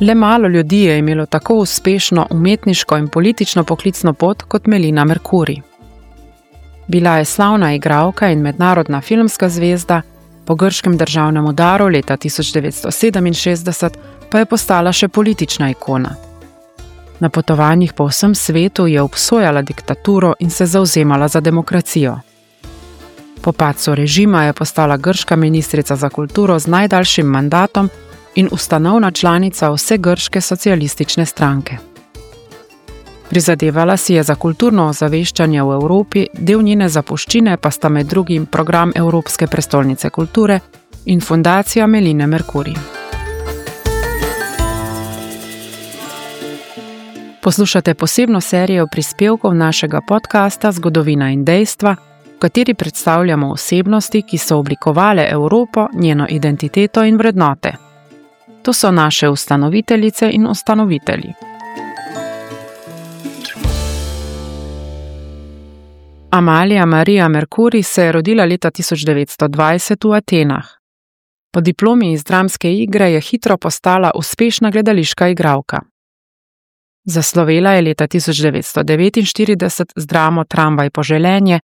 Le malo ljudi je imelo tako uspešno umetniško in politično poklicno pot kot Melina Mercouri. Bila je slavna igralka in mednarodna filmska zvezda, po grškem državnem udaru leta 1967 pa je postala še politična ikona. Na potovanjih po vsem svetu je obsojala diktaturo in se zavzemala za demokracijo. Po padcu režima je postala grška ministrica za kulturo z najdaljšim mandatom in ustanovna članica Vsegrške socialistične stranke. Prizadevala si je za kulturno ozaveščanje v Evropi, del njene zapuščine pa sta med drugim program Evropske prestolnice kulture in Fundacija Meline Mercouri. Poslušate posebno serijo prispevkov našega podcasta Zgodovina in dejstva, v kateri predstavljamo osebnosti, ki so oblikovale Evropo, njeno identiteto in vrednote. To so naše ustanoviteljice in ustanovitelji. Amalija Maria Mercouri se je rodila leta 1920 v Atenah. Po diplomi iz dramske igre je hitro postala uspešna gledališka igralka. Zaslovela je leta 1949 z dramo Tramvaj poželenje,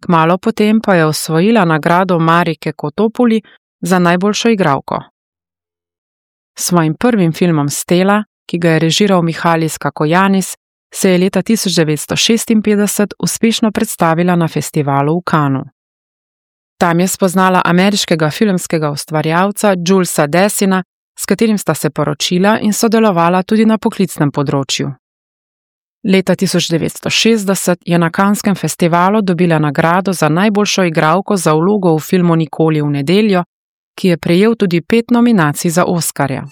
kmalu potem pa je osvojila nagrado Marike Kotopuli za najboljšo igralko. S svojim prvim filmom Stela, ki ga je režiral Mihalis Kakojanis, se je leta 1956 uspešno predstavila na festivalu v Cannesu. Tam je spoznala ameriškega filmskega ustvarjalca Julesa Dessina, s katerim sta se poročila in sodelovala tudi na poklicnem področju. Leta 1960 je na Canneskem festivalu dobila nagrado za najboljšo igralko za vlogo v filmu Nikoli v nedeljo, ki je prejel tudi 5 nominacij za Oskarja.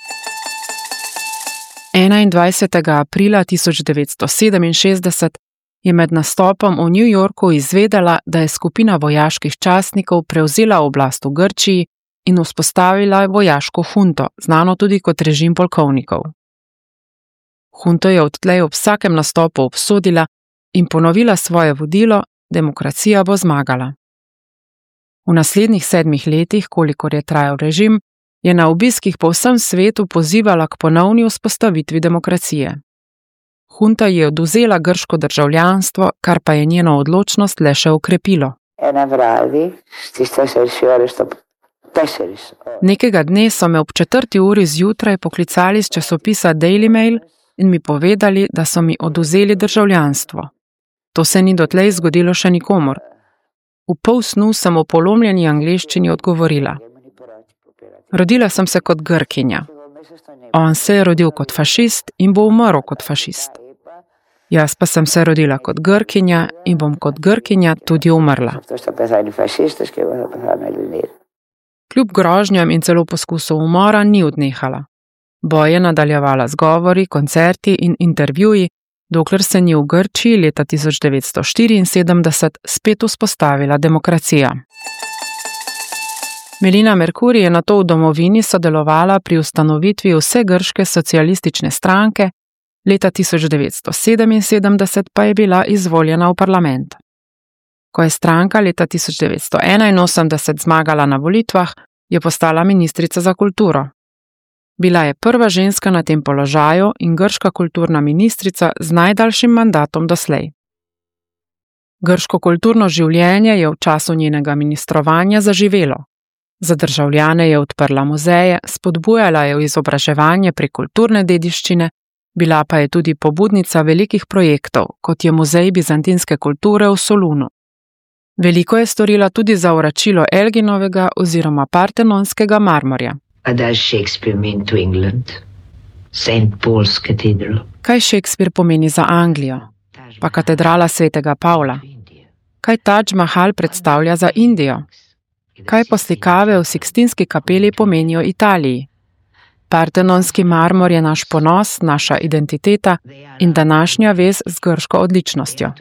21. aprila 1967 je med nastopom v New Yorku izvedela, da je skupina vojaških častnikov prevzela oblast v Grčiji in vzpostavila vojaško hunto, znano tudi kot režim polkovnikov. Hunto je odtlej ob vsakem nastopu obsodila in ponovila svoje vodilo: demokracija bo zmagala. V naslednjih 7 letih, kolikor je trajal režim, je na obiskih po vsem svetu pozivala k ponovni vzpostavitvi demokracije. Hunta ji je odvzela grško državljanstvo, kar pa je njeno odločnost le še okrepilo. Ένα βράδυ στις 4 ώρες το τέσσερις ώρες. Nekega dne so me ob 4. uri zjutraj poklicali iz časopisa Daily Mail in mi povedali, da so mi odvzeli državljanstvo. To se ni dotlej zgodilo še nikomur. V pol snu sem v polomljeni angleščini odgovorila: Rodila sem se kot Grkinja. On se je rodil kot fašist in bo umrl kot fašist. Jaz pa sem se rodila kot Grkinja in bom kot Grkinja tudi umrla. Αυτός θα πεθάνει φασίστας και εγώ θα πεθάνω Ελληνίδα. Kljub grožnjam in celo poskusu umora ni odnehala. Boj je nadaljevala z govori, koncerti in intervjuji, dokler se ni v Grčiji leta 1974 spet vzpostavila demokracija. Melina Mercouri je nato v domovini sodelovala pri ustanovitvi Vsegrške socialistične stranke, leta 1977 pa je bila izvoljena v parlament. Ko je stranka leta 1981 zmagala na volitvah, je postala ministrica za kulturo. Bila je prva ženska na tem položaju in grška kulturna ministrica z najdaljšim mandatom doslej. Grško kulturno življenje je v času njenega ministrovanja zaživelo. Za državljane je odprla muzeje, spodbujala je izobraževanje prek kulturne dediščine, bila pa je tudi pobudnica velikih projektov, kot je Muzej bizantinske kulture v Solunu. Veliko je storila tudi za vračilo Elginovega oziroma Partenonskega marmorja. What does Shakespeare mean to England? Saint Paul's Cathedral. Kaj Shakespeare pomeni za Anglijo? Pa katedrala svetega Pavla. Kaj Taj Mahal predstavlja za Indijo? Kaj poslikave v Sikstinski kapeli pomenijo Italiji? Partenonski marmor je naš ponos, naša identiteta in današnja vez z grško odličnostjo.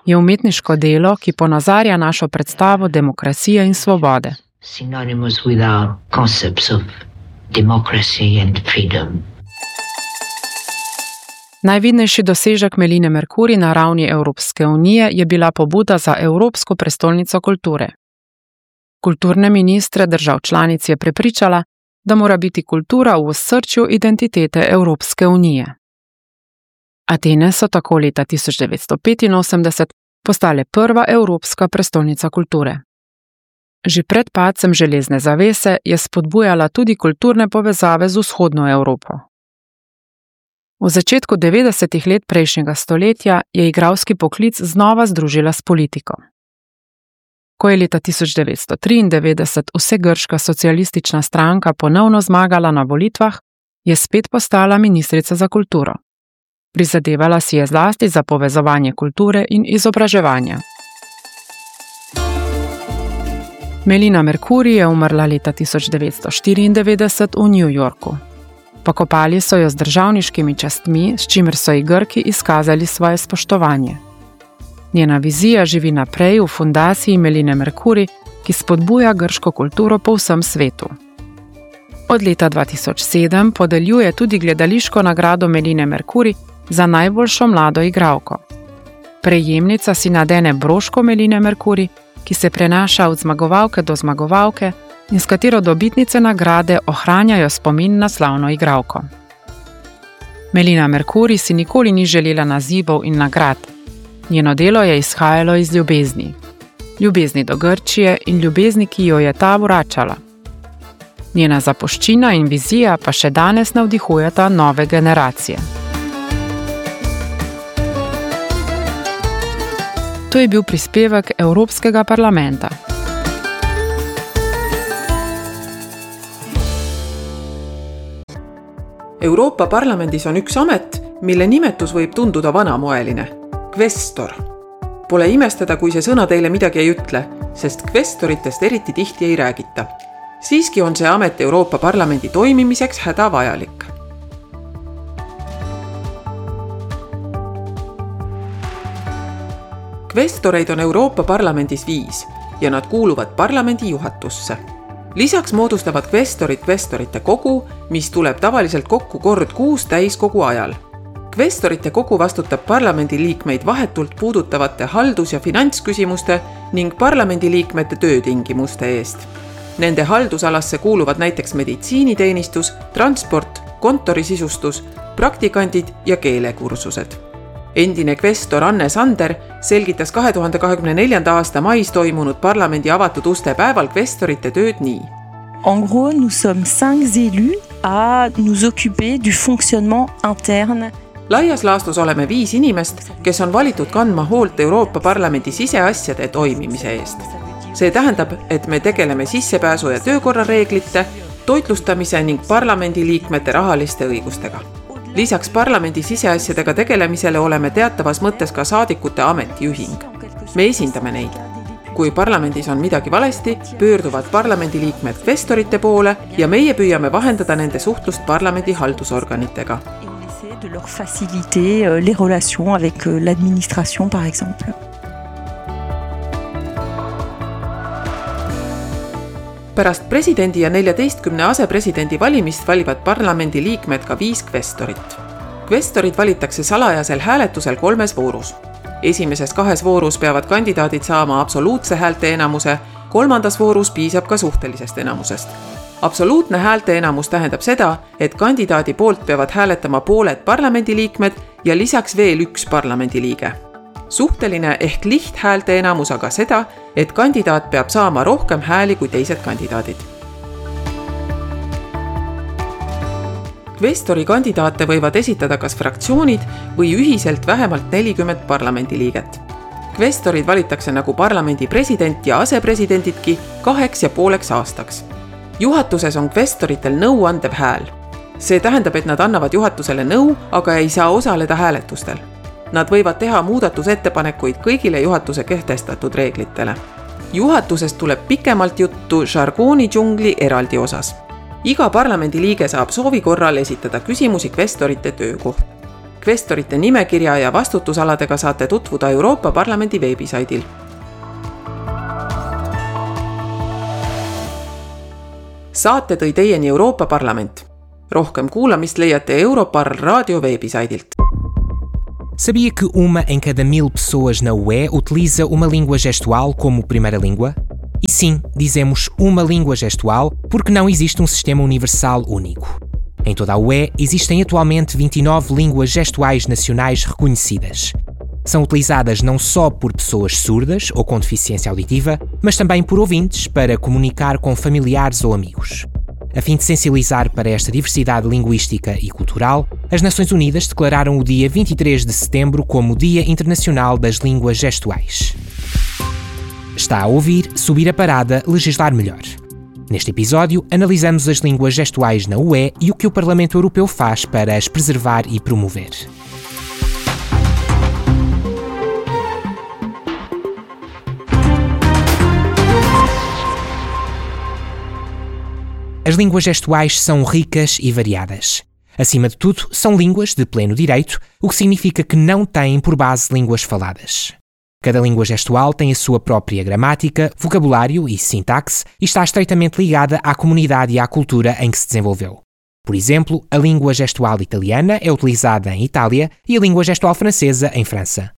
Je umetniško delo, ki ponazarja našo predstavo demokracije in svobode. Synonymous with our concepts of democracy and freedom. Najvidnejši dosežek Meline Mercouri na ravni Evropske unije je bila pobuda za Evropsko prestolnico kulture. Kulturne ministre držav članic je prepričala, da mora biti kultura v osrčju identitete Evropske unije. Atene so tako leta 1985 postale prva evropska prestolnica kulture. Že pred padcem železne zavese je spodbujala tudi kulturne povezave z vzhodno Evropo. V začetku 90. let prejšnjega stoletja je igralski poklic znova združila s politiko. Ko je leta 1993 vsegrška socialistična stranka ponovno zmagala na volitvah, je spet postala ministrica za kulturo. Prizadevala si je zlasti za povezovanje kulture in izobraževanja. Melina Mercouri je umrla leta 1994 v New Yorku. Pokopali so jo z državniškimi častmi, s čimer so ji Grki izkazali svoje spoštovanje. Njena vizija živi naprej v fundaciji Meline Mercouri, ki spodbuja grško kulturo po vsem svetu. Od leta 2007 podeljuje tudi gledališko nagrado Meline Mercouri za najboljšo mlado igralko. Prejemnica si nadene broško Meline Mercouri, ki se prenaša od zmagovalke do zmagovalke in s katero dobitnice nagrade ohranjajo spomin na slavno igralko. Melina Mercouri si nikoli ni želela nazivov in nagrad. Njeno delo je izhajalo iz ljubezni. Ljubezni do Grčije in ljubezni, ki jo je ta vračala. Njena zapuščina in vizija pa še danes navdihujeta nove generacije. To je bil prispevek Evropskega parlamenta. Euroopa Parlamendis on üks amet, mille nimetus võib tunduda vanamoeline – kvestor. Pole imestada, kui see sõna teile midagi ei ütle, sest kvestoritest eriti tihti ei räägita. Siiski on see amet Euroopa Parlamendi toimimiseks hädavajalik. Kvestoreid on Euroopa Parlamendis 5 ja nad kuuluvad parlamendi juhatusse. Lisaks moodustavad kvestorid kvestorite kogu, mis tuleb tavaliselt kokku kord kuus täiskogu ajal. Kvestorite kogu vastutab parlamendiliikmeid vahetult puudutavate haldus- ja finantsküsimuste ning parlamendiliikmete töötingimuste eest. Nende haldusalasse kuuluvad näiteks meditsiiniteenistus, transport, kontorisisustus, praktikandid ja keelekursused. Endine kvestor Anne Sander selgitas 2024. aasta mais toimunud parlamendi avatud uste päeval kvestorite tööd nii. En gros, nous sommes 5 élus à nous occuper du fonctionnement interne. Laias laastus oleme 5 inimest, kes on valitud kandma hoolt Euroopa Parlamendi siseasjade toimimise eest. See tähendab, et me tegeleme sissepääsu ja töökorrareeglite, toitlustamise ning parlamendiliikmete rahaliste õigustega. Lisaks parlamendi siseasjadega tegelemisele oleme teatavas mõttes ka saadikute ametiühing. Me esindame neid. Kui parlamendis on midagi valesti, pöörduvad parlamendiliikmed kvestorite poole ja meie püüame vahendada nende suhtlust parlamendi haldusorganitega. De leur faciliter les relations avec l'administration, par exemple. Pärast presidendi ja 14 asepresidendi valimist valivad parlamendi liikmed ka 5 kvestorit. Kvestorid valitakse salajasel hääletusel 3 voorus. Esimeses 2 voorus peavad kandidaadid saama absoluutse häälteenamuse, kolmandas voorus piisab ka suhtelisest enamusest. Absoluutne häälteenamus tähendab seda, et kandidaadi poolt peavad hääletama pooled parlamendiliikmed ja lisaks veel üks parlamendiliige. Suhteline ehk lihthäälteenamus aga seda, et kandidaat peab saama rohkem hääli kui teised kandidaadid. Kvestori kandidaate võivad esitada kas fraktsioonid või ühiselt vähemalt 40 parlamendiliiget. Kvestorid valitakse nagu parlamendi president ja asepresidendidki 2,5 aastaks. Juhatuses on kvestoritel nõuandev hääl. See tähendab, et nad annavad juhatusele nõu, aga ei saa osaleda hääletustel. Nad võivad teha muudatusettepanekuid kõigile juhatuse kehtestatud reeglitele. Juhatusest tuleb pikemalt juttu žargoonidžungli eraldi osas. Iga parlamendiliige saab soovi korral esitada küsimusi kvestorite töö kohta. Kvestorite nimekirja ja vastutusaladega saate tutvuda Euroopa Parlamendi veebisaidil. Saate tõi teieni Euroopa Parlament. Rohkem kuulamist leiate Europarl raadio veebisaidilt. Sabia que 1 em cada 1000 pessoas na UE utiliza uma língua gestual como primeira língua? E sim, dizemos uma língua gestual porque não existe um sistema universal único. Em toda a UE existem atualmente 29 línguas gestuais nacionais reconhecidas. São utilizadas não só por pessoas surdas ou com deficiência auditiva, mas também por ouvintes para comunicar com familiares ou amigos. A fim de sensibilizar para esta diversidade linguística e cultural, as Nações Unidas declararam o dia 23 de setembro como Dia Internacional das Línguas Gestuais. Está a ouvir Subir a Parada, Legislar Melhor. Neste episódio, analisamos as línguas gestuais na UE e o que o Parlamento Europeu faz para as preservar e promover. As línguas gestuais são ricas e variadas. Acima de tudo, são línguas de pleno direito, o que significa que não têm por base línguas faladas. Cada língua gestual tem a sua própria gramática, vocabulário e sintaxe e está estreitamente ligada à comunidade e à cultura em que se desenvolveu. Por exemplo, a língua gestual italiana é utilizada em Itália e a língua gestual francesa em França.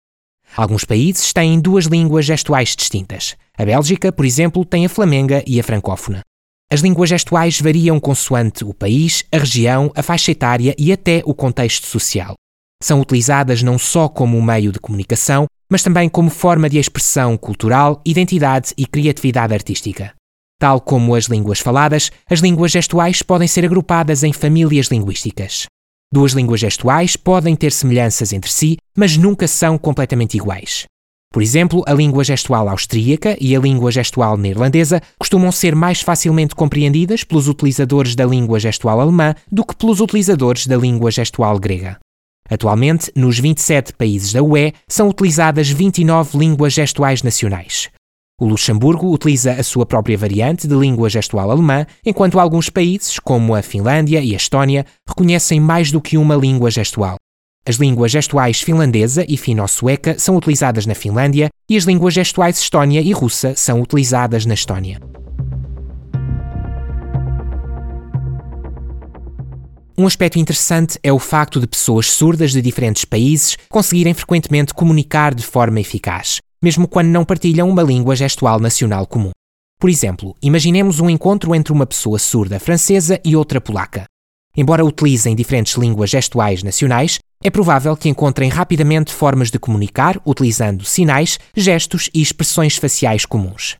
Alguns países têm duas línguas gestuais distintas. A Bélgica, por exemplo, tem a flamenga e a francófona. As línguas gestuais variam consoante o país, a região, a faixa etária e até o contexto social. São utilizadas não só como meio de comunicação, mas também como forma de expressão cultural, identidade e criatividade artística. Tal como as línguas faladas, as línguas gestuais podem ser agrupadas em famílias linguísticas. Duas línguas gestuais podem ter semelhanças entre si, mas nunca são completamente iguais. Por exemplo, a língua gestual austríaca e a língua gestual neerlandesa costumam ser mais facilmente compreendidas pelos utilizadores da língua gestual alemã do que pelos utilizadores da língua gestual grega. Atualmente, nos 27 países da UE, são utilizadas 29 línguas gestuais nacionais. O Luxemburgo utiliza a sua própria variante de língua gestual alemã, enquanto alguns países, como a Finlândia e a Estónia, reconhecem mais do que uma língua gestual. As línguas gestuais finlandesa e fino-sueca são utilizadas na Finlândia e as línguas gestuais estónia e russa são utilizadas na Estónia. Um aspecto interessante é o facto de pessoas surdas de diferentes países conseguirem frequentemente comunicar de forma eficaz, mesmo quando não partilham uma língua gestual nacional comum. Por exemplo, imaginemos um encontro entre uma pessoa surda francesa e outra polaca. Embora utilizem diferentes línguas gestuais nacionais, é provável que encontrem rapidamente formas de comunicar utilizando sinais, gestos e expressões faciais comuns.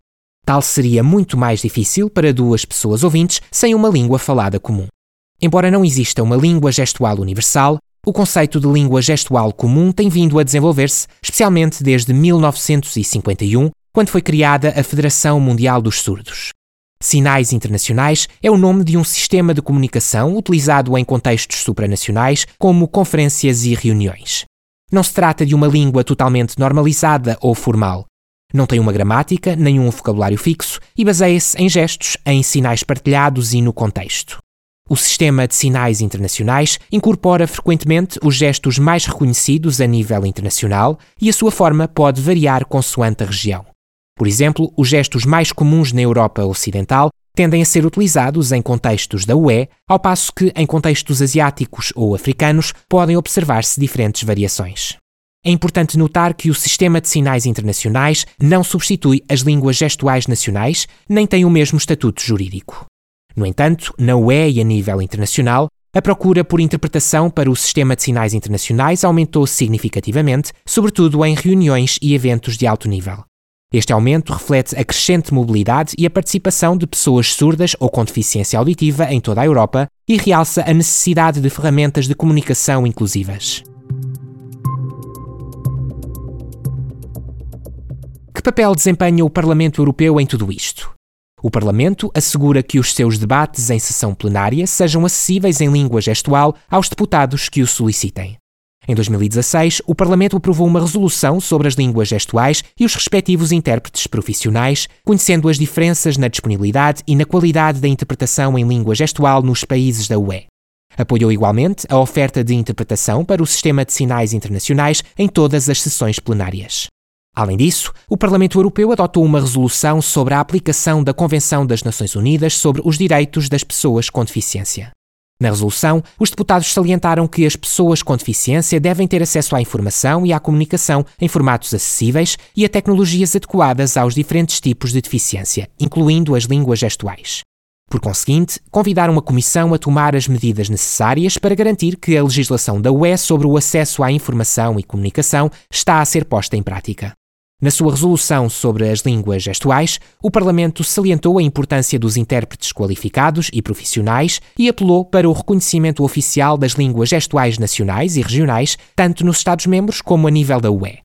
Tal seria muito mais difícil para duas pessoas ouvintes sem uma língua falada comum. Embora não exista uma língua gestual universal, o conceito de língua gestual comum tem vindo a desenvolver-se, especialmente desde 1951, quando foi criada a Federação Mundial dos Surdos. Sinais Internacionais é o nome de um sistema de comunicação utilizado em contextos supranacionais, como conferências e reuniões. Não se trata de uma língua totalmente normalizada ou formal. Não tem uma gramática nem um vocabulário fixo e baseia-se em gestos, em sinais partilhados e no contexto. O sistema de sinais internacionais incorpora frequentemente os gestos mais reconhecidos a nível internacional e a sua forma pode variar consoante a região. Por exemplo, os gestos mais comuns na Europa Ocidental tendem a ser utilizados em contextos da UE, ao passo que em contextos asiáticos ou africanos podem observar-se diferentes variações. É importante notar que o sistema de sinais internacionais não substitui as línguas gestuais nacionais, nem tem o mesmo estatuto jurídico. No entanto, na UE e a nível internacional, a procura por interpretação para o sistema de sinais internacionais aumentou significativamente, sobretudo em reuniões e eventos de alto nível. Este aumento reflete a crescente mobilidade e a participação de pessoas surdas ou com deficiência auditiva em toda a Europa e realça a necessidade de ferramentas de comunicação inclusivas. Que papel desempenha o Parlamento Europeu em tudo isto? O Parlamento assegura que os seus debates em sessão plenária sejam acessíveis em língua gestual aos deputados que o solicitem. Em 2016, o Parlamento aprovou uma resolução sobre as línguas gestuais e os respectivos intérpretes profissionais, conhecendo as diferenças na disponibilidade e na qualidade da interpretação em língua gestual nos países da UE. Apoiou igualmente a oferta de interpretação para o sistema de sinais internacionais em todas as sessões plenárias. Além disso, o Parlamento Europeu adotou uma resolução sobre a aplicação da Convenção das Nações Unidas sobre os Direitos das Pessoas com Deficiência. Na resolução, os deputados salientaram que as pessoas com deficiência devem ter acesso à informação e à comunicação em formatos acessíveis e a tecnologias adequadas aos diferentes tipos de deficiência, incluindo as línguas gestuais. Por conseguinte, convidaram a Comissão a tomar as medidas necessárias para garantir que a legislação da UE sobre o acesso à informação e comunicação está a ser posta em prática. Na sua resolução sobre as línguas gestuais, o Parlamento salientou a importância dos intérpretes qualificados e profissionais e apelou para o reconhecimento oficial das línguas gestuais nacionais e regionais, tanto nos Estados-membros como a nível da UE.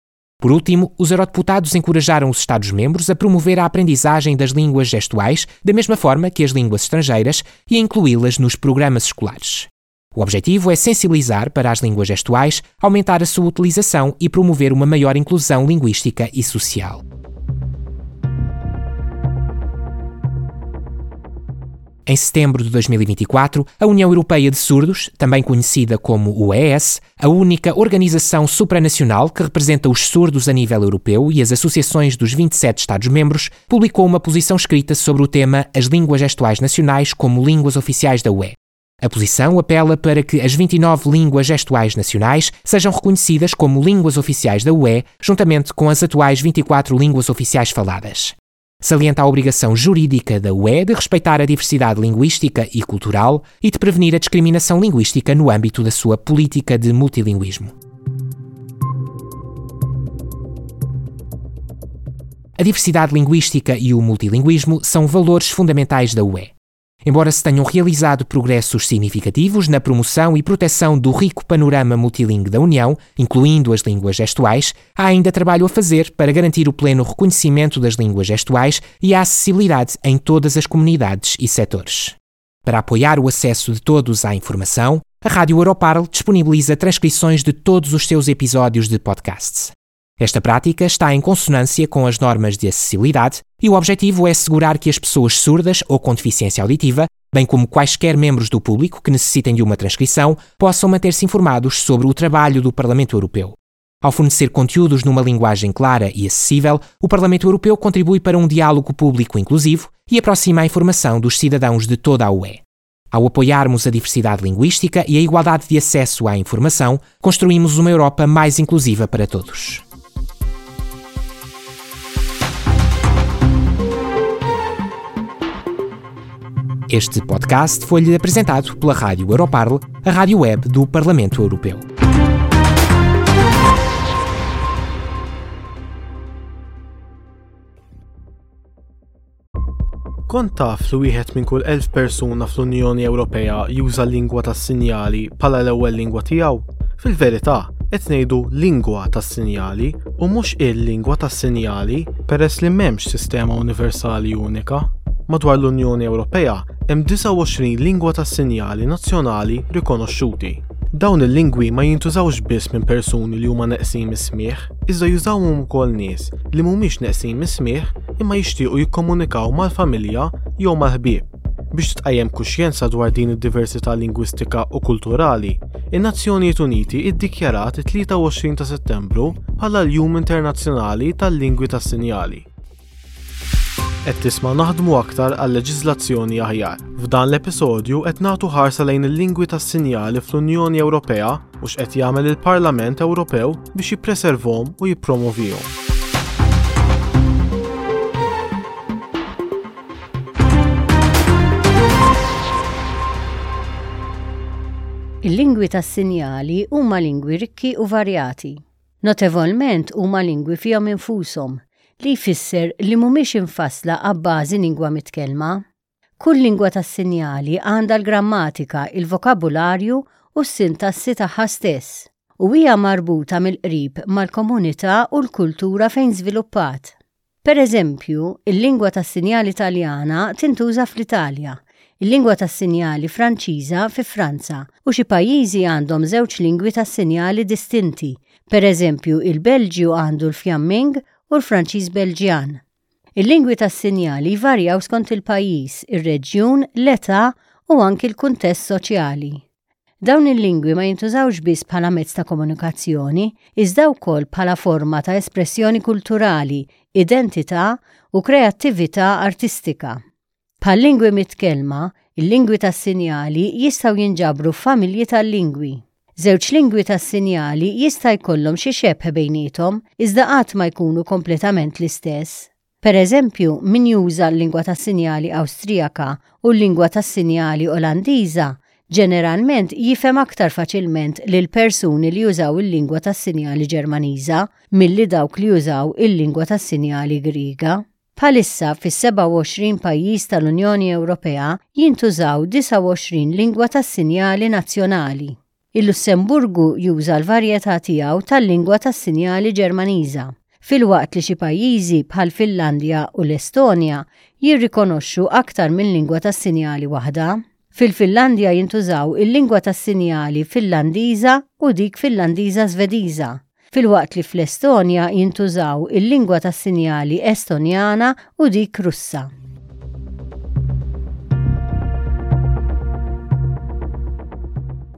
Por último, os eurodeputados encorajaram os Estados-membros a promover a aprendizagem das línguas gestuais da mesma forma que as línguas estrangeiras e a incluí-las nos programas escolares. O objetivo é sensibilizar para as línguas gestuais, aumentar a sua utilização e promover uma maior inclusão linguística e social. Em setembro de 2024, a União Europeia de Surdos, também conhecida como UES, a única organização supranacional que representa os surdos a nível europeu e as associações dos 27 Estados-membros, publicou uma posição escrita sobre o tema As línguas gestuais nacionais como línguas oficiais da UE. A posição apela para que as 29 línguas gestuais nacionais sejam reconhecidas como línguas oficiais da UE, juntamente com as atuais 24 línguas oficiais faladas. Salienta a obrigação jurídica da UE de respeitar a diversidade linguística e cultural e de prevenir a discriminação linguística no âmbito da sua política de multilinguismo. A diversidade linguística e o multilinguismo são valores fundamentais da UE. Embora se tenham realizado progressos significativos na promoção e proteção do rico panorama multilingue da União, incluindo as línguas gestuais, há ainda trabalho a fazer para garantir o pleno reconhecimento das línguas gestuais e a acessibilidade em todas as comunidades e setores. Para apoiar o acesso de todos à informação, a Rádio Europarl disponibiliza transcrições de todos os seus episódios de podcasts. Esta prática está em consonância com as normas de acessibilidade e o objetivo é assegurar que as pessoas surdas ou com deficiência auditiva, bem como quaisquer membros do público que necessitem de uma transcrição, possam manter-se informados sobre o trabalho do Parlamento Europeu. Ao fornecer conteúdos numa linguagem clara e acessível, o Parlamento Europeu contribui para um diálogo público inclusivo e aproxima a informação dos cidadãos de toda a UE. Ao apoiarmos a diversidade linguística e a igualdade de acesso à informação, construímos uma Europa mais inclusiva para todos. Este podcast foi-lhe apresentado pela Rádio Europarl, a rádio web do Parlamento Europeu. Kont taf li wieħed minn kull 1000 persuna fl-Unjoni Ewropea juża l-lingwa tas-sinjali bħala l-ewwel lingwa tiegħu? Fil-verità, qed ngħidu lingwa tas-sinjali u mhux il-lingwa tas-sinjali peress li m'hemmx sistema universali unika. Madwar l-Unjoni Ewropea hemm 29 lingwa tas-sinjali nazzjonali rikonoxxuti. Dawn il-lingwi ma jintużawx biss minn persuni li huma neqsin mis-smigħ, iżda jużawhom ukoll nies li mhumiex neqsin mis-smigħ imma jixtiequ jikkomunikaw mal-familja jew mal-ħbieb. Biex titqajjem kuxjenza dwar din id-diversità lingwistika u kulturali, in-Nazzjonijiet Uniti iddikjarat it-23 ta' Settembru bħala l-Jum Internazzjonali tal-Lingwi tas-Sinjali. Qed tisma' Naħdmu Aktar għal Leġiżlazzjoni Aħjar. F'dan l-episodju qed nagħtu ħarsa lejn il-lingwi tas-sinjali fl-Unjoni Ewropea u x'qed jagħmel il-Parlament Ewropew biex jippreservhom u jippromovihom. Il-lingwi tas-sinjali huma lingwi rikki u varjati. Notevolment huma lingwi fihom infushom, li jfisser li mhumiex imfassla abbażi lingwa mitkellma. Kull lingwa tas-sinjali għandha l-grammatika, il-vokabularju u s-sintassi tagħha stess, u hija marbuta mill-qrib mal-komunità u l-kultura fejn żviluppat. Pereżempju, il-lingwa tas-sinjali Taljana tintuża fl-Italja, il-lingwa tas-sinjali Franċiża fi Franza u xi pajjiżi għandhom żewġ lingwi tas-sinjali distinti, pereżempju il-Belġju għandu l-Fjamming u l-Franċiż Belġjan. Il-lingwi tas-sinjali jvarjaw skont il-pajjiż, ir-reġjun, l-età u anki l-kuntest soċjali. Dawn il-lingwi ma jintużawx biss bħala mezz ta' komunikazzjoni, iżda wkoll bħala forma ta' espressjoni kulturali, identità u kreattività artistika. Bħal-lingwi mitkellma, Il-lingwi tas-sinjali jistgħu jinġabru f'familji tal-lingwi. Żewġ lingwi tas-sinjali jista' jkollhom xi xebh bejniethom, iżda qatt ma jkunu kompletament l-istess. Per eżempju, min juża l-lingwa tas-sinjali Awstrijaka u l-lingwa tas-sinjali Olandiża ġeneralment jifhem aktar faċilment lil persuni li jużaw il-lingwa tas-sinjali Ġermaniża milli dawk li jużaw il-lingwa tas-sinjali Griega. Bħalissa fis-27 pajjiż tal-Unjoni Ewropea jintużaw 29 lingwa tas-sinjali nazzjonali. Il-Lussemburgu juża l-varjetà tiegħu tal-lingwa tas-sinjali Ġermaniża, filwaqt li xi pajjiżi bħall-Finlandja u l-Estonja jirrikonoxxu aktar minn lingwa tas-sinjali waħda. Fil-Finlandja jintużaw il-lingwa tas-sinjali Finlandiża u dik Finlandiża-Żvediża, filwaqt li fl-Estonja jintużaw il-lingwa tas-sinjali Estonjana u dik Russa.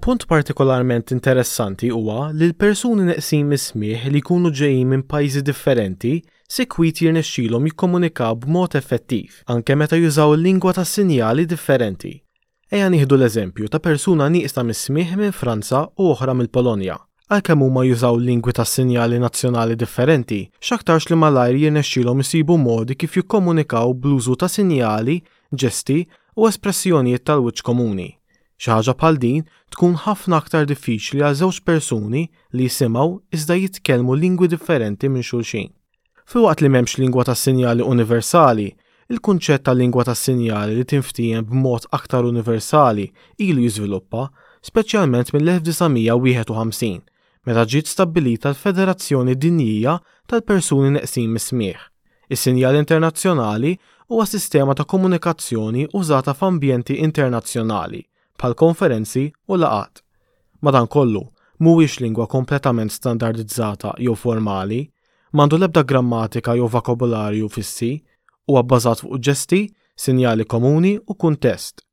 Punt partikolarment interessanti huwa li l-persuni neqsin mis-smigħ li jkunu ġejjin minn pajjiżi differenti sikwit jirnexxilhom jikkomunikaw b'mod effettiv, anke meta jużaw lingwa tas-sinjali differenti. Ejja nieħdu l-eżempju ta' persuna nieqsa mis-smigħ minn Franza u oħra mill-Polonja. Għalkemm huma jużaw lingwi tas-sinjali nazzjonali differenti, x'aktarx li malajr jirnexxilhom isibu modi kif jikkomunikaw bl-użu ta' sinjali, ġesti, u espressjonijiet tal-wiċċ komuni. Xi ħaġa bħal din tkun ħafna aktar diffiċli għal żewġ persuni li jisimgħu iżda jitkellmu lingwi differenti minn xulxin. Filwaqt li m'hemmx lingwa tas-sinjali universali, il-kunċett ta' lingwa tas-sinjali li tinftiehem b'mod aktar universali ilu jiżviluppa, speċjalment mill-1951, meta ġiet stabbilita l-Federazzjoni Dinjija tal-Persuni Neqsin mis-Smigħ. Is-sinjal internazzjonali huwa sistema ta' komunikazzjoni użata f'ambjenti internazzjonali, bħal konferenzi u laqgħat. Madankollu, mhuwiex lingwa kompletament standardizzata jew formali, m'għandu l-ebda grammatika jew vokabularju fissi, huwa bbażat fuq ġesti, sinjali komuni u kuntest.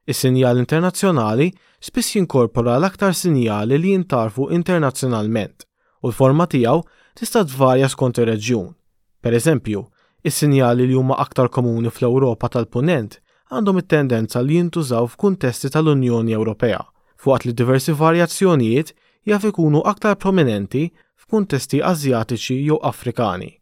Is-sinjal internazzjonali spiss jinkorpora l-aktar sinjali li jintgħarfu internazzjonalment u l-forma tiegħu tista' tvarja skont ir-reġjun. Pereżempju, is-sinjali li huma aktar komuni fl-Ewropa tal-Punent għandhom it-tendenza li jintużaw f'kuntesti tal-Unjoni Ewropea, f'waqt li diversi varjazzjonijiet jaf ikunu aktar prominenti f'kuntesti Asjatiċi jew Afrikani.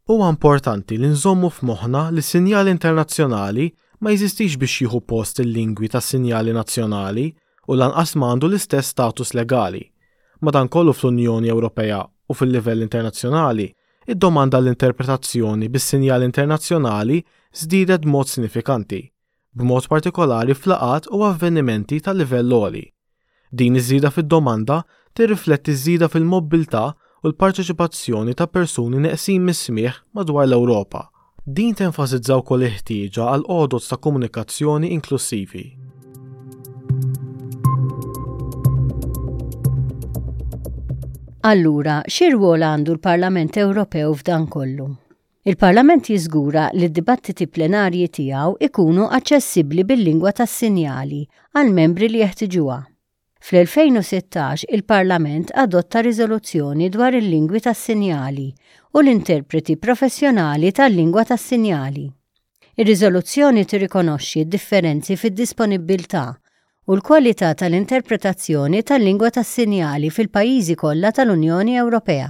Huwa importanti li nżommu f'moħħna li s-sinjal internazzjonali ma jeżistix biex jieħu post il-lingwi tas-sinjali nazzjonali u lanqas ma għandu l-istess status legali. Madankollu fl-Unjoni Ewropea u fil-livell internazzjonali, id-domanda għall-interpretazzjoni bis-sinjal internazzjonali żdiedet b'mod sinifikanti. b'mod partikolari f'laqgħat u avvenimenti ta' livell għoli. Din iż-żieda fid-domanda tirrifletti ż-żieda fil-mobbiltà u l-parteċipazzjoni ta' persuni neqsin mis-smigħ madwar l-Ewropa. Din tenfasizza wkoll il-ħtieġa għal għodod ta' komunikazzjoni inklussivi. Allura, xi rwol għandu l-Parlament Ewropew f'dan kollu? Il-Parlament jiżgura li d-dibattiti plenarji tiegħu jkunu aċċessibbli bil-lingwa tas-sinjali għall-membri li jeħtiġuha. Fl-2016 il-Parlament adotta riżoluzzjoni dwar il-lingwi tas-sinjali u l-interpreti professjonali tal-lingwa tas-sinjali. Ir-riżoluzzjoni tirrikonoxxi d-differenzi fid-disponibbiltà u l-kwalità tal-interpretazzjoni tal-lingwa tas-sinjali fil-pajjiżi kollha tal-Unjoni Ewropea.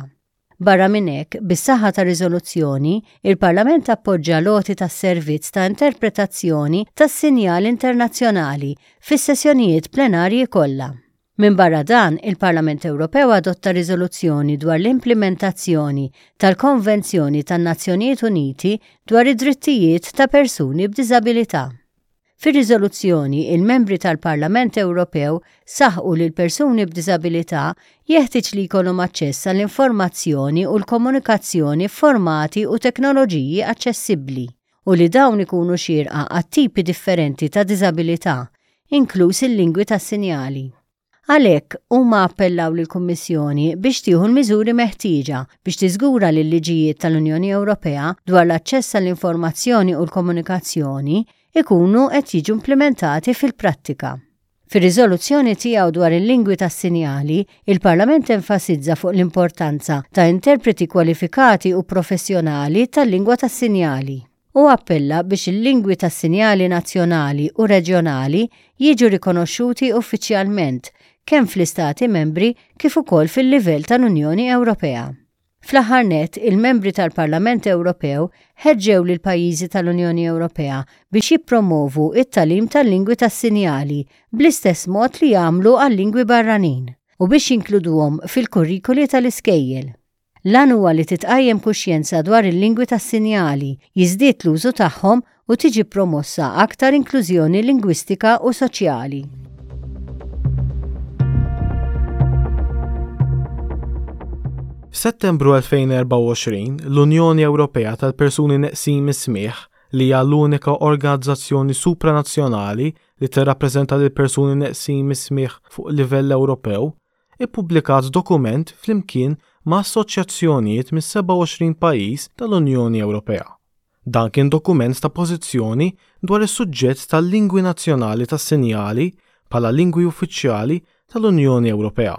Barra minn hekk, bis-saħħa tar-riżoluzzjoni, il-Parlament appoġġa l-għoti tas-servizz ta' interpretazzjoni tas-sinjal internazzjonali fis-sessjonijiet plenarji kollha. Minbarra dan, il-Parlament Ewropew adotta riżoluzzjoni dwar l-implimentazzjoni tal-Konvenzjoni tan-Nazzjonijiet Uniti dwar id-Drittijiet ta' Persuni b'Diżabilità. Fir-riżoluzzjoni, il-Membri tal-Parlament Ewropew saħqu li l-persuni b'diżabilità jeħtieġ li jkollhom aċċess għall-informazzjoni u l-komunikazzjoni f'formati u teknoloġiji aċċessibbli u li dawn ikunu xierqa għat-tipi differenti ta' diżabilità, inkluż il-lingwi tas-sinjali. Għalhekk, huma appellaw lill-Kummissjoni biex tieħu l-miżuri meħtieġa biex tiżgura li l-liġijiet tal-Unjoni Ewropea dwar l-aċċess għall-informazzjoni u l-komunikazzjoni jkunu qed jiġu implimentati fil-prattika. Fir-riżoluzzjoni tiegħu dwar il-lingwi tas-sinjali, il-Parlament enfasizza fuq l-importanza ta' interpreti kwalifikati u professjonali tal-lingwa tas-sinjali. Hu appella biex il-lingwi tas-sinjali nazzjonali u reġjonali jiġu rikonoxxuti uffiċjalment kemm fl-Istati Membri kif ukoll fil-livell tal-Unjoni Ewropea. Fl-aħħar nett, il-Membri tal-Parlament Ewropew ħeġġew lill-pajjiżi tal-Unjoni Ewropea biex jippromovu t-tagħlim tal-lingwi tas-sinjali bl-istess mod li jagħmlu għal-lingwi barranin u biex jinkluduhom fil-kurrikuli tal-iskejjel. L-għan huwa li titqajjem kuxjenza dwar il-lingwi tas-sinjali, jiżdied l-użu tagħhom u tiġi promossa aktar inklużjoni lingwistika u soċjali. F'Settembru 2024, l-Unjoni Ewropea tal-Persuni Neqsin mis-Smigħ, li hija l-unika organizzazzjoni supranazzjonali li tirrappreżenta lill-persuni neqsin mis-smigħ fuq livell Ewropew, ippubblikat dokument flimkien ma' assoċjazzjonijiet mis-27 pajjiż tal-Unjoni Ewropea. Dan kien dokument ta' pożizzjoni dwar is-suġġett tal-lingwi nazzjonali tas-sinjali bħala lingwi uffiċjali tal-Unjoni Ewropea.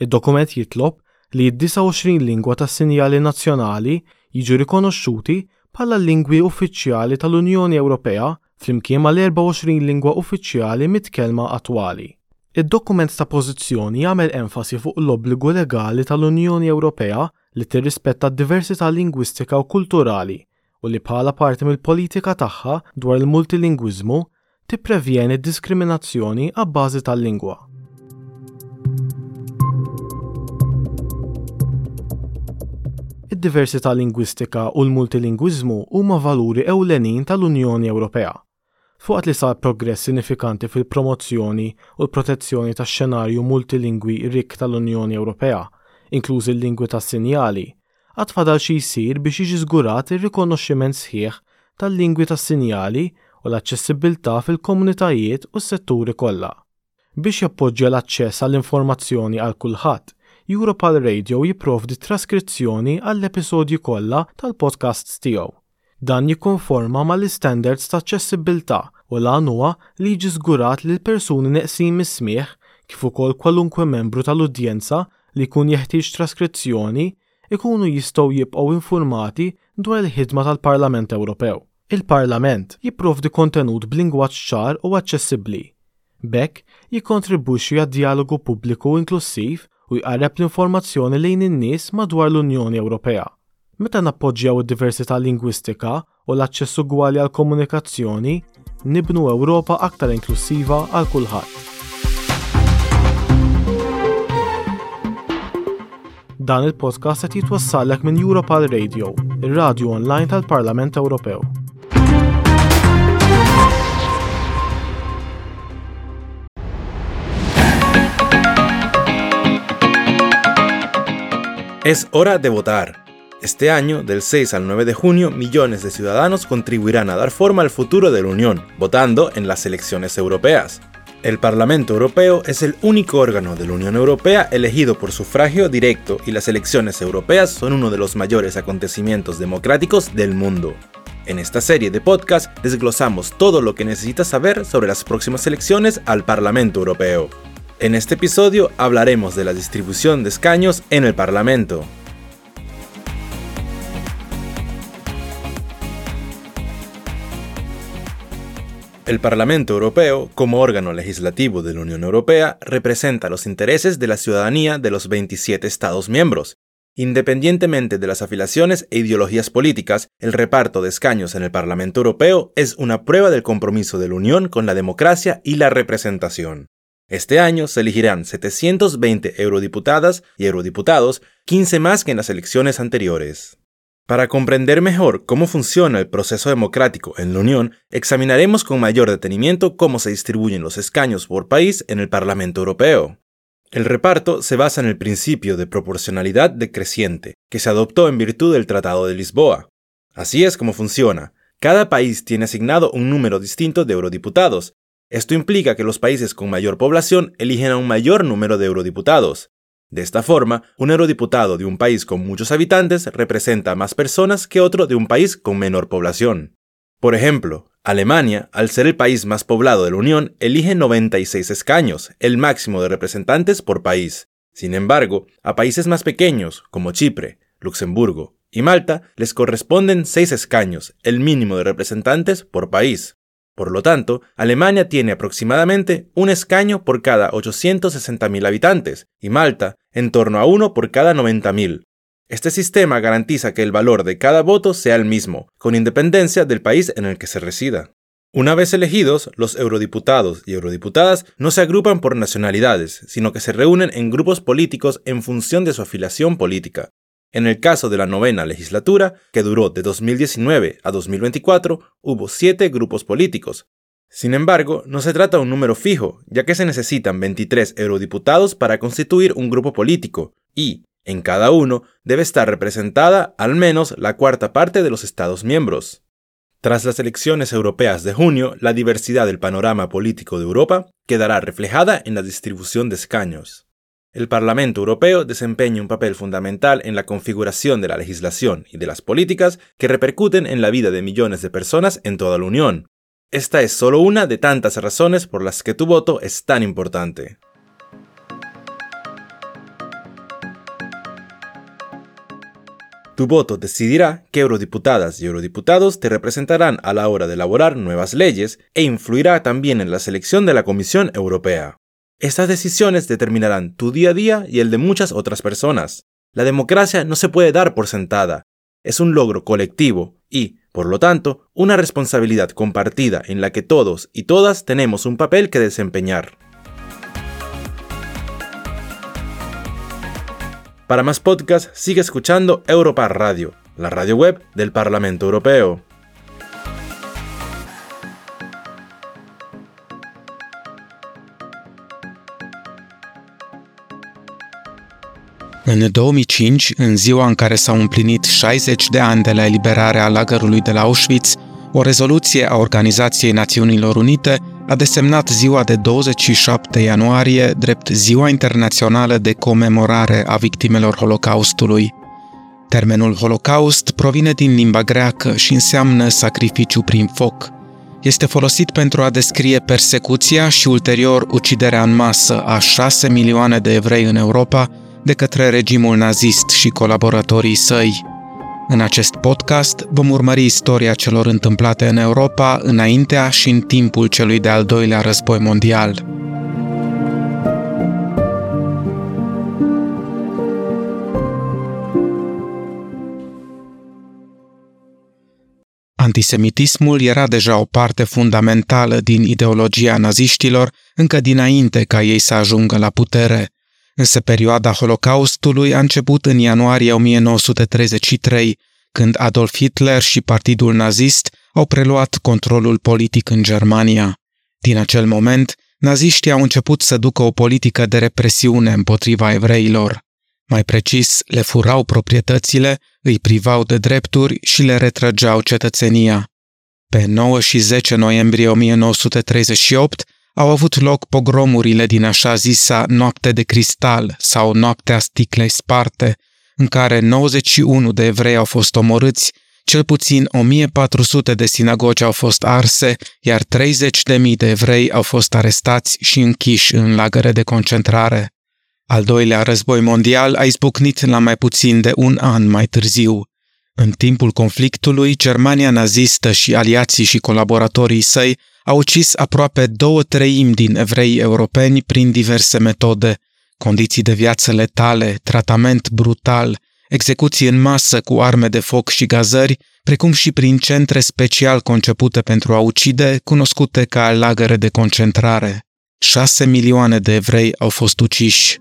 Id-dokument jitlob li d-29 lingwa tas-sinjali nazzjonali jiġu rikonoxxuti bħala l-lingwi uffiċjali tal-Unjoni Ewropea flimkien mal-24 lingwa uffiċjali mitkellma attwali. Id-dokument ta' pożizzjoni jagħmel enfasi fuq l-obbligu legali tal-Unjoni Ewropea li tirrispetta d-diversità lingwistika u kulturali u li bħala parti mill-politika tagħha dwar il-multilingwiżmu tipprevjeni d-diskriminazzjoni abbażi tal-lingwa. Id-diversità lingwistika u l-multilingwiżmu huma valuri ewlenin tal-Unjoni Ewropea. Filwaqt li sar progress sinifikanti fil-promozzjoni u l-protezzjoni tax-xenarju multilingwi rikk tal-Unjoni Ewropea, inklużi l-lingwi tas-sinjali, għad fadal xi jsir biex jiġi żgurat ir-rikonoxximent sħiħ tal-lingwi tas-sinjali u l-aċċessibbiltà fil-komunitajiet u s-setturi kollha. Biex jappoġġja l-aċċess għall-informazzjoni għal kulħadd, Europal Radio jipprovdi traskrizzjoni għall-episodji kollha tal-podcasts tiegħu. Dan jikkonforma mal-istandards ta' aċċessibbiltà u l-għan huwa li jiġi żgurat li l-persuni neqsin mis-smigħ, kif ukoll kwalunkwe membru tal-udjenza li jkun jeħtieġ traskrizzjoni, ikunu jistgħu jibqgħu infurmati dwar il-ħidma tal-Parlament Ewropew. Il-Parlament jipprovdi kontenut b'lingwaġġ ċar u aċċessibbli. B'hekk, jikkontribwixxi għad-djalogu pubbliku inklussiv u jqarreb l-informazzjoni lejn in-nies madwar l-Unjoni Ewropea. Meta nappoġġjaw id-diversità lingwistika u l-aċċess ugwali għall-komunikazzjoni, nibnu Ewropa aktar inklussiva għal kulħadd. Dan il-podcast qed jitwassallek minn Europal Radio, ir-radju online tal-Parlament Ewropew. Es hora de votar. Este año, del 6 al 9 de junio, millones de ciudadanos contribuirán a dar forma al futuro de la Unión, votando en las elecciones europeas. El Parlamento Europeo es el único órgano de la Unión Europea elegido por sufragio directo y las elecciones europeas son uno de los mayores acontecimientos democráticos del mundo. En esta serie de podcast desglosamos todo lo que necesitas saber sobre las próximas elecciones al Parlamento Europeo. En este episodio hablaremos de la distribución de escaños en el Parlamento. El Parlamento Europeo, como órgano legislativo de la Unión Europea, representa los intereses de la ciudadanía de los 27 Estados miembros. Independientemente de las afiliaciones e ideologías políticas, el reparto de escaños en el Parlamento Europeo es una prueba del compromiso de la Unión con la democracia y la representación. Este año se elegirán 720 eurodiputadas y eurodiputados, 15 más que en las elecciones anteriores. Para comprender mejor cómo funciona el proceso democrático en la Unión, examinaremos con mayor detenimiento cómo se distribuyen los escaños por país en el Parlamento Europeo. El reparto se basa en el principio de proporcionalidad decreciente, que se adoptó en virtud del Tratado de Lisboa. Así es como funciona. Cada país tiene asignado un número distinto de eurodiputados. Esto implica que los países con mayor población eligen a un mayor número de eurodiputados. De esta forma, un eurodiputado de un país con muchos habitantes representa a más personas que otro de un país con menor población. Por ejemplo, Alemania, al ser el país más poblado de la Unión, elige 96 escaños, el máximo de representantes por país. Sin embargo, a países más pequeños, como Chipre, Luxemburgo, y Malta les corresponden 6 escaños, el mínimo de representantes por país. Por lo tanto, Alemania tiene aproximadamente un escaño por cada 860.000 habitantes y Malta en torno a uno por cada 90.000. Este sistema garantiza que el valor de cada voto sea el mismo, con independencia del país en el que se resida. Una vez elegidos, los eurodiputados y eurodiputadas no se agrupan por nacionalidades, sino que se reúnen en grupos políticos en función de su afiliación política. En el caso de la novena legislatura, que duró de 2019 a 2024, hubo 7 grupos políticos. Sin embargo, no se trata de un número fijo, ya que se necesitan 23 eurodiputados para constituir un grupo político y, en cada uno, debe estar representada al menos la cuarta parte de los Estados miembros. Tras las elecciones europeas de junio, la diversidad del panorama político de Europa quedará reflejada en la distribución de escaños. El Parlamento Europeo desempeña un papel fundamental en la configuración de la legislación y de las políticas que repercuten en la vida de millones de personas en toda la Unión. Esta es solo una de tantas razones por las que tu voto es tan importante. Tu voto decidirá qué eurodiputadas y eurodiputados te representarán a la hora de elaborar nuevas leyes e influirá también en la selección de la Comisión Europea. Estas decisiones determinarán tu día a día y el de muchas otras personas. La democracia no se puede dar por sentada. Es un logro colectivo y, por lo tanto, una responsabilidad compartida en la que todos y todas tenemos un papel que desempeñar. Para más podcasts, sigue escuchando Europa Radio, la radio web del Parlamento Europeo. În 2005, în ziua în care s-au împlinit 60 de ani de la eliberarea lagărului de la Auschwitz, o rezoluție a Organizației Națiunilor Unite a desemnat ziua de 27 ianuarie drept Ziua Internațională de Comemorare a Victimelor Holocaustului. Termenul Holocaust provine din limba greacă și înseamnă sacrificiu prin foc. Este folosit pentru a descrie persecuția și ulterior uciderea în masă a 6 milioane de evrei în Europa de către regimul nazist și colaboratorii săi. În acest podcast vom urmări istoria celor întâmplate în Europa înaintea și în timpul celui de-al doilea război mondial. Antisemitismul era deja o parte fundamentală din ideologia naziștilor încă dinainte ca ei să ajungă la putere. Însă perioada Holocaustului a început în ianuarie 1933, când Adolf Hitler și Partidul Nazist au preluat controlul politic în Germania. Din acel moment, naziștii au început să ducă o politică de represiune împotriva evreilor. Mai precis, le furau proprietățile, îi privau de drepturi și le retrăgeau cetățenia. Pe 9 și 10 noiembrie 1938, au avut loc pogromurile din așa zisa Noapte de Cristal sau Noaptea Sticlei Sparte, în care 91 de evrei au fost omorâți, cel puțin 1400 de sinagogi au fost arse, iar 30.000 de evrei au fost arestați și închiși în lagăre de concentrare. Al doilea război mondial a izbucnit la mai puțin de un an mai târziu. În timpul conflictului, Germania nazistă și aliații și colaboratorii săi au ucis aproape 2/3 din evreii europeni prin diverse metode, condiții de viață letale, tratament brutal, execuții în masă cu arme de foc și gazări, precum și prin centre special concepute pentru a ucide, cunoscute ca lagăre de concentrare. 6 milioane de evrei au fost uciși.